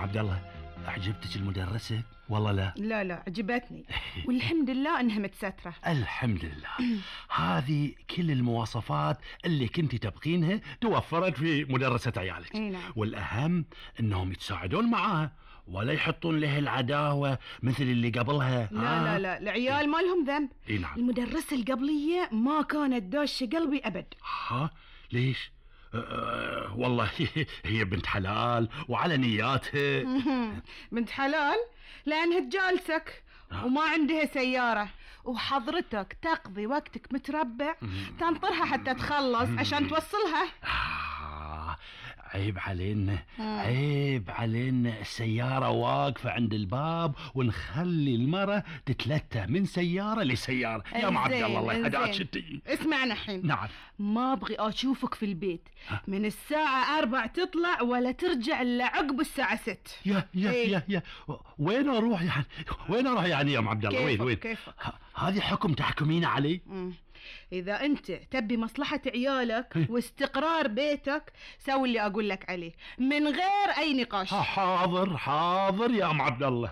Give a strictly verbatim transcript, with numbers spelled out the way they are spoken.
عبد الله، أعجبتك المدرسة والله لا؟ لا لا عجبتني والحمد لله انها متسترة. الحمد لله. هذه كل المواصفات اللي كنت تبغينها توفرت في مدرسة عيالك. نعم. والأهم انهم يتساعدون معاها ولا يحطون له العداوة مثل اللي قبلها. لا آه. لا لا العيال ما لهم ذنب. اي نعم. المدرسة القبلية ما كانت داشة قلبي أبد. ها ليش؟ أه والله هي بنت حلال وعلى نياتها. بنت حلال لأنها تجالسك وما عندها سيارة، وحضرتك تقضي وقتك متربع تنطرها حتى تخلص عشان توصلها. آه عيب علينا، عيب علينا السيارة واقفة عند الباب ونخلي المرة تتلتى من سيارة لسيارة. يا ام عبد الله الله يهداك شتي. اسمعنا الحين. نعم. ما ابغي اشوفك في البيت من الساعة أربع تطلع ولا ترجع الا عقب الساعة ست. يا يا إيه؟ يا يا وين اروح يعني؟ وين اروح يعني يا ام عبد الله؟ وين وين؟ كيفك؟ هذه حكم تحكمين علي؟ مم. إذا أنت تبي مصلحة عيالك واستقرار بيتك سوي اللي أقول لك عليه من غير أي نقاش. حاضر حاضر يا أم عبد الله.